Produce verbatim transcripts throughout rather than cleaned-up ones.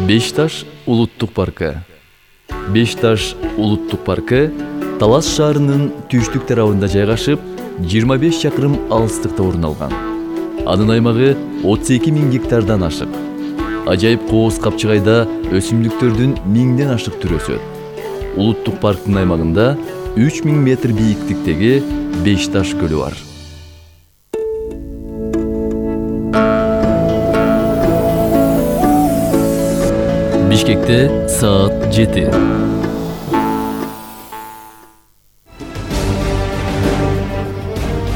Беш Таш улуттук паркы. Беш Таш улуттук паркы Талас шаарынын түштүк тарабында жайгашып, жыйырма беш чакырым алыстыкта орун алган. Анын аймагы отуз эки миң гектардан ашык. Ажайып кооз капчыгайда өсүмдүктөрдүн миңден ашык түрү өсөт. Улуттук парктын аймагында үч миң метр бийиктиктеги Беш Таш көлү бар. Бишкекте саат жети.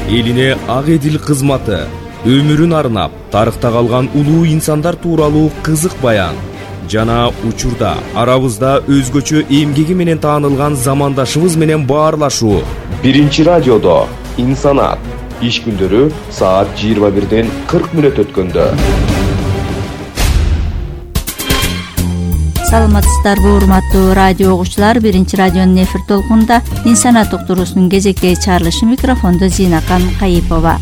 Элине ак эдил кызматы, өмүрүн арнап, тарыхта калган улуу инсандар тууралуу кызык баян жана учурда арабызда өзгөчө эмгеги менен таанылган замандашыбыз менен баарлашуу. Биринчи радиодо инсанат иш күндөрү саат жыйырма бирден кырк мүнөт өткөндө. Саламатсыздарбы урматтуу радио угуучулар, биринчи радионун эфир толкунунда инсанат уктуруусунун кезектеги чыгарылышы, микрофондо Зинакан Кайипова.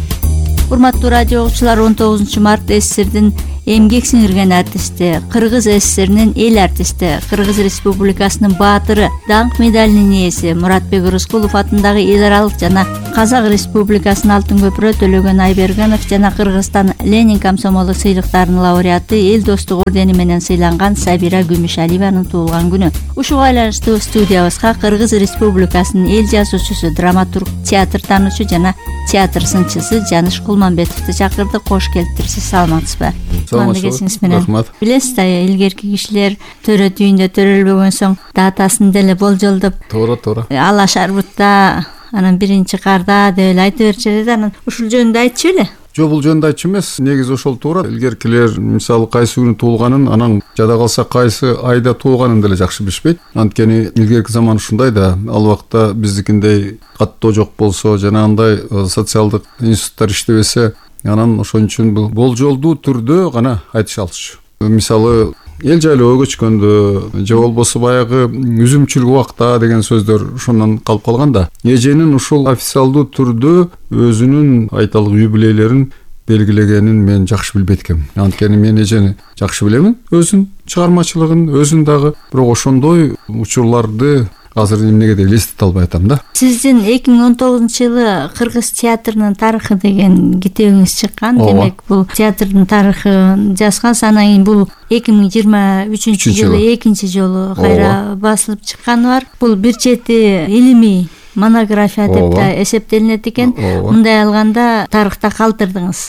Урматтуу радио угуучулар, он тогузунчу март СССРдин эмгек сиңирген артисти, Кыргыз СССРинин эл артисти, Кыргыз Республикасынын баатыры, даңк медалинин ээси Муратбек Рыскулов атындагы эл аралык жана Казак Республикасынын Алтын көпүрө Төлөгөн Айбергенов жана Кыргызстан Ленин комсомолу сыйлыктарынын лауреаты, эл достук ордени менен сыйланган Сабира Күмүшалиеванын туулган күнү. Ушуга байланыштуу студиябызга Кыргыз Республикасынын эл жазуучусу, драматург, театр таануучу жана театр сынчысы Жаныш Кулманбетовду чакырдык. Кош келиптирсиз, саламатсызбы? Рахмат. Билесиз да, илгерки кишилер төрө түйүндө төрөлбөгөн соң датасын деле болжолдоп, туура туура ала шарбутта, анан биринчи карда деп эле айта берчү эле. Анан ушул жөнүндө айтчу беле? Жок, бул жөнүндө айтчу эмес. Негизи ошол туура. Илгеркилер мисалы кайсы күнү туулганын, анан жада калса кайсы айда туулганын деле жакшы билишпейт. Анткени илгерки заман ушундай да, ал убакта биздикиндей каттоо жок болсо, жанагындай социалдык институттар иштебесе, анан ошон үчүн бул болжолдуу түрдө гана айтышалчу. Мисалы эл жайлоого көчкөндө же болбосо баягы үзүмчүлүк убакта деген сөздөр ошондон калып калган да. Эженин ушул официалдуу түрдө өзүнүн айталык юбилейлерин белгилегенин мен жакшы билбейт экенмин. Анткени мен эжени жакшы билемин, өзүнүн чыгармачылыгын, өзүн дагы, бирок ошондой учурларды азыр эмнеге деп элестете албай атам да. Сиздин эки миң он тогузунчу жылы Кыргыз театрынын тарыхы деген китебиңиз чыккан. Демек, бул театрдын тарыхын жазгансыз. Анан кийин бул эки миң жыйырма үчүнчү жылы экинчи жолу кайра басылып чыкканы бар. Бул бир чети илимий монография деп да эсептелинет экен. Мындай алганда тарыхта калтырдыңыз.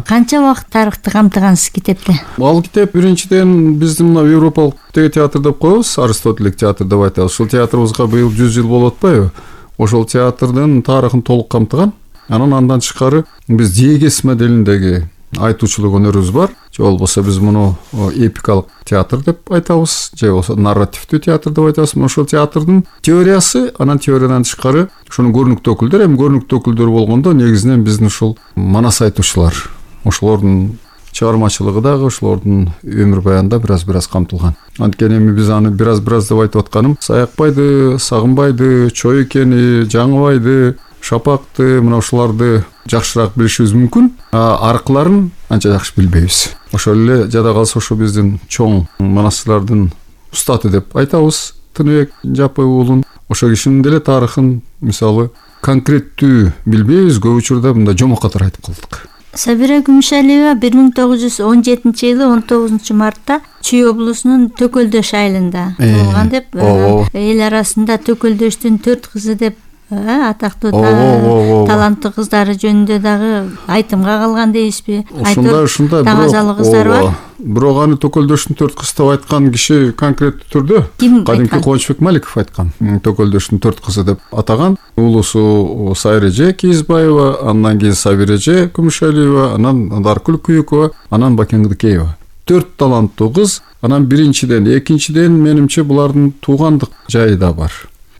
Канча убакыт тарыхты камтыгансыз китепте? Ал китеп биринчиден биздин мына Европалык театр деп коебуз, Аристотелик театр деп айтабыз. Ушул театрыбызга быйыл жүз жыл болуп атпайбы? Ошол театрдын тарыхын толук камтыган. Анан андан тышкары биз диегез моделиндеги айтуучулук өнөрүбүз бар. Же болбосо биз муну эпикалык театр деп айтабыз, же болбосо нарративдүү театр деп айтабыз. Ошол театрдын теориясы, анан теориядан тышкары ошонун көрүнүктүү өкүлдөр, эми көрүнүктүү өкүлдөр болгондо негизинен биздин ушул манас айтуучулар, ошолордун чыгармачылыгы дагы, ошолордун өмүр баянында бираз-бираз камтылган. Анткени эми биз аны бираз-бираз деп айтып атканым, Саякбайды, Сагынбайды, Чоюкени, Жаңыбайды, Шапакты, мына ушуларды жакшыраак билишибиз мүмкүн. А аркыларын анча жакшы билбейбиз. Ошол эле жада калса ошо биздин чоң манастырлардын устаты деп айтабыз, Тыныбек Жапай уулун. Ошо кишинин деле тарыхын мисалы конкреттүү билбейбиз, көп учурда мындай жомок катары айтып калдык. Сабира Күмүшалиева бир миң тогуз жүз он жетинчи жылы он тогузунчу мартта Чүй облусунун Төкөлдөш айылында туулган деп, эл арасында Төкөлдөштүн төрт кызы деп атактуу таланттуу кыздары жөнүндө дагы айтымга калган дейсизби? Ушундай ушундай тазалык кыздар бар. Бирок аны Төкөлдөштүн төрт кызы деп айткан киши конкреттүү түрдө кадимки Кубанычбек Маликов айткан. Төкөлдөштүн төрт кызы деп атаган. Улусу Сайреже Кийизбаева, андан кийин Сабиреже Күмүшалиева, анан Даркүл Күйүкова, анан Бакен Кыдыкеева. Төрт таланттуу кыз. Анан биринчиден, экинчиден менимче булардын туугандык жайы да бар.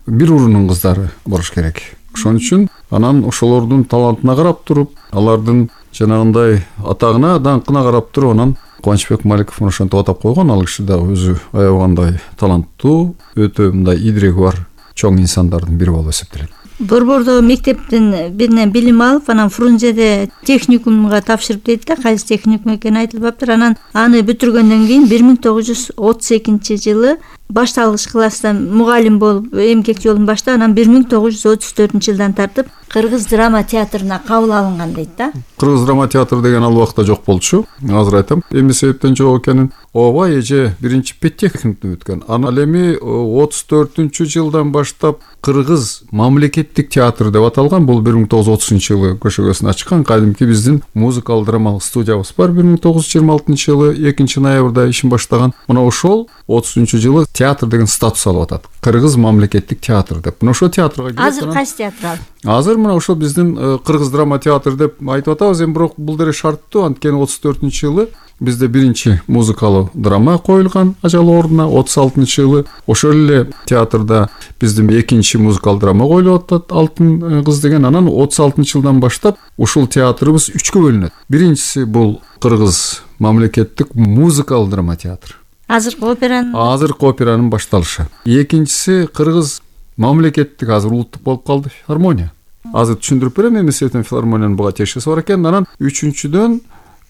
Бир урунун кыздары болуш керек. Ошон үчүн анан ошолордун талантына карап туруп, алардын жанагындай атагына, даңкына карап туруп, анан Кубанычбек Маликов ошентип атап койгон. Ал киши да өзү аябагандай таланттуу, өтө мындай идиреги бар чоң инсандардын бири болуп эсептелет. Борбордо мектептен биринен билим алып, анан Фрунзеде техникумга тапшырып дейт да, кайсы техникум экени айтылбаптыр. Анан аны бүтүргөндөн кийин бир миң тогуз жүз отуз экинчи жылы башталгыч класста мугалим болуп эмгек жолун баштап, анан бир миң тогуз жүз отуз төртүнчү жылдан тартып Кыргыз драма театрына кабыл алынган дейт да. Кыргыз драма театры деген ал убакта жок болчу. Азыр айтам, эмне себептен жок экенин. Ооба, эже биринчи педтехникумду бүткөн. Анан эми отуз төртүнчү жылдан баштап Кыргыз мамлекеттик театр деп аталган. Бул бир миң тогуз жүз отузунчу жылы көшөгөсүн ачкан кадимки биздин музыкалык драмалык студиябыз бар. бир миң тогуз жүз жыйырма алтынчы жылы экинчи ноябрда ишин баштаган. Мына ошол отузунчу жылы театр деген статус алып атат. Кыргыз мамлекеттик театр деп. Мына ошол театрга келип. Азыр кайсы театр ал? Азыр мына ошол биздин Кыргыз драма театр деп айтып атабыз. Эми бирок бул деле шарттуу, анткени отуз төртүнчү жылы бизде биринчи музыкалык драма коюлган ажал ордуна. отуз алтынчы жылы ошол эле театрда биздин экинчи музыкалык драма коюлуп атат, Алтын кыз деген. Анан отуз алтынчы жылдан баштап ушул театрыбыз үчкө бөлүнөт. Биринчиси бул Кыргыз мамлекеттик музыкалык драма театр. Азыркы операнын Азыркы операнын башталышы. Экинчиси Кыргыз мамлекеттик, азыр улуттук болуп калды, филармония. Азыр түшүндүрүп берем, эмне себептен филармониянын буга тиешеси бар экен. Анан үчүнчүдөн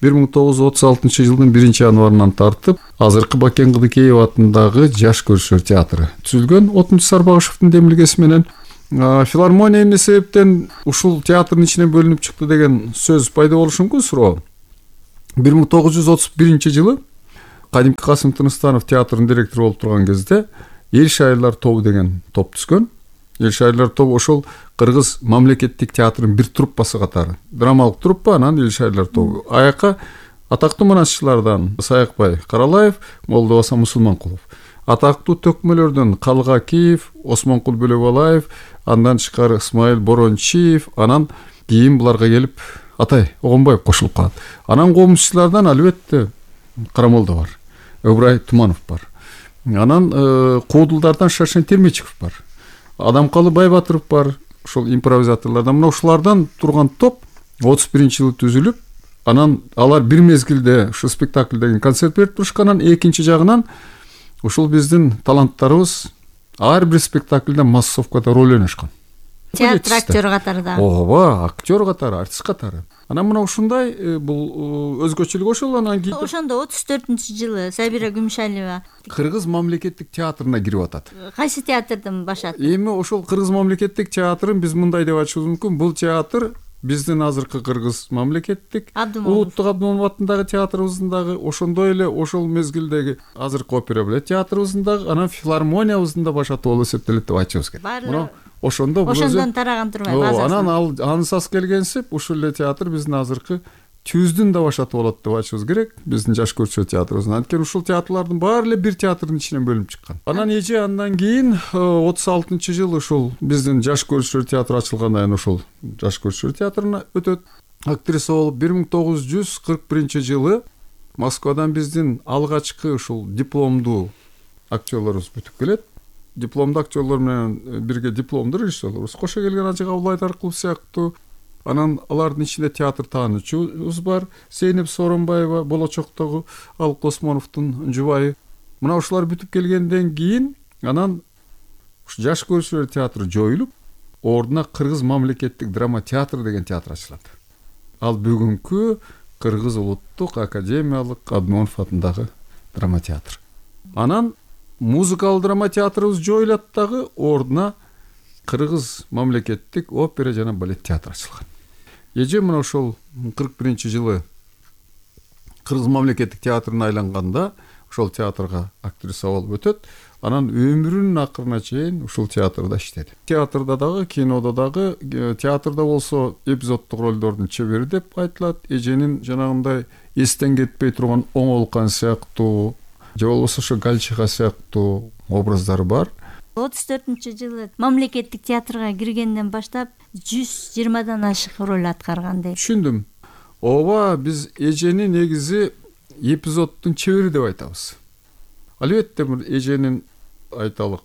бир миң тогуз жүз отуз алтынчы жылдын биринчи январынан тартып азыркы Бакен Кыдыкеев атындагы Жаш көрүүчүлөр театры түзүлгөн отунчу Сарбагышевдин демилгеси менен. Филармония эмне себептен ушул театрдын ичинен бөлүнүп чыкты деген сөз пайда болушу мүмкүн, суроо. бир миң тогуз жүз отуз биринчи жылы кадимки Касым Тыныстанов театрдын директору болуп турган кезде Эл шайырлар тобу деген топ түзгөн. Эл шайырлар тобу ошол Кыргыз мамлекеттик театрынын бир труппасы катары. Драмалык труппа, анан Эл шайырлар тобу. Аяка атактуу манасчылардан Саякбай Каралаев, Молдобаса Мусулманкулов. Атактуу төкмөлөрдөн Калга Киев, Осмонкул Бөлөбалаев, андан тышкары Исмаил Борончиев, анан кийин буларга келип Атай Огонбаев кошулуп калат. Анан коомчулардан албетте Карамолдо бар, Ыбрай Туманов бар. Анан Куудулдардан Шашен Термечиков бар. Адамкалы Байбатыров бар, ошол импровизаторлордон. Мына ушулардан турган топ отуз биринчи жылы түзүлүп, анан алар бир мезгилде ушу спектакль деген концерт берип турушкан. Анан экинчи жагынан ушул биздин таланттарыбыз ар бир спектакльде массовкада роль ойношкон. Театр актер катары да. Ооба, актер катары, артист катары. Анан мына ушундай бул өзгөчөлүк ошол. Анан кийин ошондо отуз төртүнчү жылы Сабира Күмүшалиева Кыргыз мамлекеттик театрына кирип атат. Кайсы театрдын башаты? Эми ошол Кыргыз мамлекеттик театрын биз мындай деп айтышыбыз мүмкүн. Бул театр биздин азыркы Кыргыз мамлекеттик улуттук Абдымомов атындагы театрыбыздын дагы, ошондой эле ошол мезгилдеги азыркы опера балет театрыбыздын дагы, анан филармониябыздын да башаты болуп эсептелет деп айтышыбыз керек. Мына ошондо бул ошондон тараган турбайбы азыр. Анан ал ансас келгенсип ушул эле театр биздин азыркы түздүн да башаты болот деп айтышыбыз керек. Биздин Жаш көрүүчүлөр театрыбыздын. Анткени ушул театрлардын баары эле бир театрдын ичинен бөлүнүп чыккан. Анан эже андан кийин отуз алтынчы жыл ушул биздин Жаш көрүүчүлөр театры ачылгандан кийин ошол Жаш көрүүчүлөр театрына өтөт. Актриса болуп бир миң тогуз жүз кырк биринчи жылы Москвадан биздин алгачкы ушул дипломдуу актерлорубуз бүтүп келет. Дипломдуу актерлор менен бирге дипломдуу режиссерлорубуз кошо келген, Ажы Кабыл Айдаркулов сыяктуу. Анан алардын ичинде театр таануучубуз бар, Сейнеп Сооронбаева, болочоктогу Алык Осмоновдун жубайы. Мына ушулар бүтүп келгенден кийин анан Жаш көрүүчүлөр театры жоюлуп, ордуна Кыргыз мамлекеттик драма театры деген театр ачылат. Ал бүгүнкү Кыргыз улуттук академиялык Абдымомов атындагы драма театр. Анан музыкалык драма театрыбыз жоюлат дагы, ордуна Кыргыз мамлекеттик опера жана балет театры ачылган. Эже мына ошол кырк биринчи жылы Кыргыз мамлекеттик театрына айланганда ошол театрга актриса болуп өтөт. Анан өмүрүнүн акырына чейин ушул театрда иштеди. Театрда дагы, кинодо дагы, театрда болсо эпизоддук ролдордун чебери деп айтылат. Эженин жанагындай эстен кетпей турган Оңолкан сыяктуу, же болбосо ошо Галчиха сыяктуу образдары бар. отуз төртүнчү жылы мамлекеттик театрга киргенден баштап жүз жыйырмадан ашык роль аткарган дейт. Түшүндүм. Ооба, биз эжени негизи эпизоддун чебери деп айтабыз. Албетте бир эженин айталык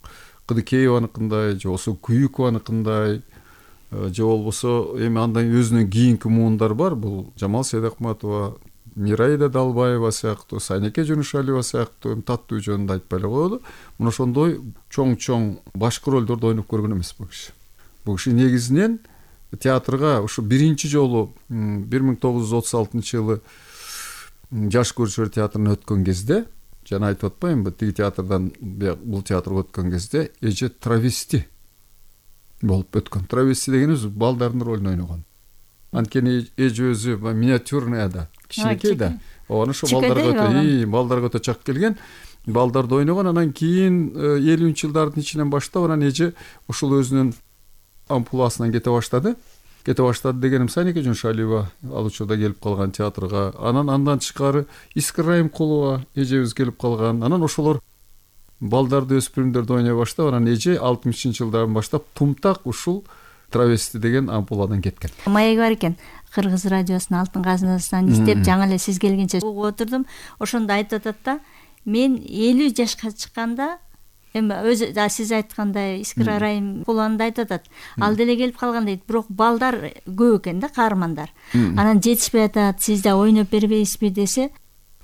Кыдыкееваныкындай, же болбосо Күйүкованыкындай, же болбосо эми андан өзүнүн кийинки муундар бар. Бул Жамал Сейдакматова, Мираида Далбаева сыяктуу, Сайнеке Жөнүшалиева сыяктуу таттуу жөнүндө айтпай эле коелу. Мына ошондой чоң-чоң башкы ролдорду ойноп көргөн эмес бул киши. Бул киши негизинен театрга ушу биринчи жолу бир миң тогуз жүз отуз алтынчы жылы Жаш көрүүчүлөр театрына өткөн кезде, жана айтып атпаймынбы, тиги театрдан бул театрга өткөн кезде эже травести болуп өткөн. Травести дегенибиз балдардын ролун ойногон. Анткени эже өзү миниатюрный да, кичинекей да. Аны ошо балдарга өтө, балдарга өтө чак келген. Балдарды ойногон, анан кийин элүүнчү жылдардын ичинен баштап анан эже ушул өзүнүн ампуласынан кете баштады. Кете баштады дегеним Санеке Жуншалиева ал учурда келип калган театрга. Анан андан тышкары Искра Райымкулова эжебиз келип калган. Анан ошолор балдарды, өспүрүмдөрдү ойной баштап, анан эже алтымышынчы жылдардан баштап Тумтак ушул травести деген ампуладан кеткен. Маеги бар экен. Кыргыз радиосунун алтын казынасынан издеп, жаңы эле сиз келгенче угуп отурдум. Ошондо айтып атат да, мен элүү жашка чыкканда, эми өзү да сиз айткандай Искра Райымкулованы айтып атат. Ал деле келип калган дейт, бирок балдар көп экен да, каармандар. Анан жетишпей атат, сиз да ойноп бербейсизби десе,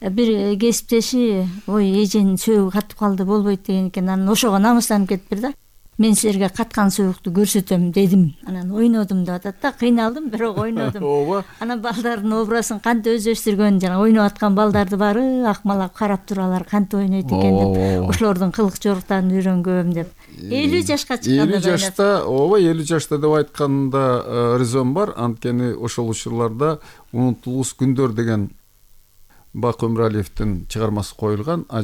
бир кесиптеши, ой, эженин сөөгү катып калды, болбойт деген экен. Анан ошого намыстанып кетиптир да. Мен силерге каткан сөөгүктү көрсөтөм дедим. Анан ойнодум деп атат да, кыйналдым, бирок ойнодум. Ооба. Анан балдардын образын кантип өздөштүргөн, жана ойноп аткан балдарды баары акмалап карап туралар, кантип ойнойт экен деп, ошолордун кылык жоруктарын үйрөнгөм деп. элүү жашка чыкканда элүү жашта, ооба, элүү жашта деп айтканда резон бар. Анткени ошол учурларда Унутулгус күндөр деген Бак Өмүралиевдин чыгармасы коюлган.